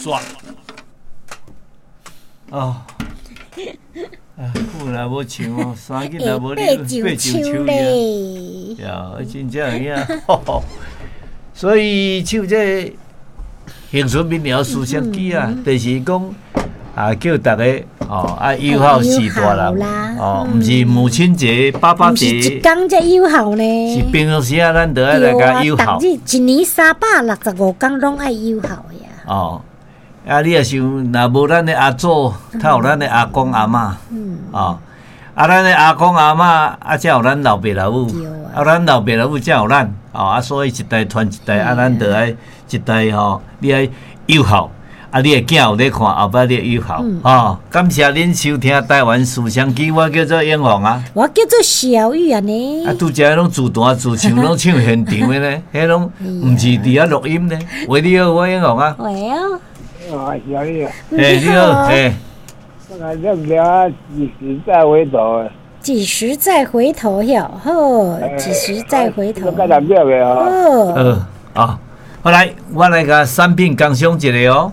煞。哦，啊，久若無唱哦，三日若無你爬上樹咧。呀，真正有影，所以唱這個恆春民謠思想記啊，就是講啊，叫逐家哦，愛友好序大人哦，毋是母親節、爸爸節，一工才友好呢。是平常時啊，咱都愛來共友好。逐日一年365工攏愛友好呀。哦，啊，你若想，若無咱的阿祖，才有咱的阿公阿嬤，哦，啊，咱的阿公阿嬤，啊，才有咱老爸老母，啊，咱老爸老母才有咱，哦，啊，所以一代傳一代，啊，咱就愛一代吼，你愛友好，啊，你的囝有咧看，後擺你友好，哦，感謝恁收聽台灣思想機，我叫做永鳳啊，我叫做小玉啊呢，啊，拄才攏自彈自唱，攏唱現場的呢，彼攏毋是佇遐錄音呢。喂，你好，我永鳳啊。喂哦。啊，小玉啊。欸，你好，欸。我認不了，幾時再回頭？幾時再回頭喲？好，幾時再回頭？好。好，啊，好來，我來共產品工商一下哦。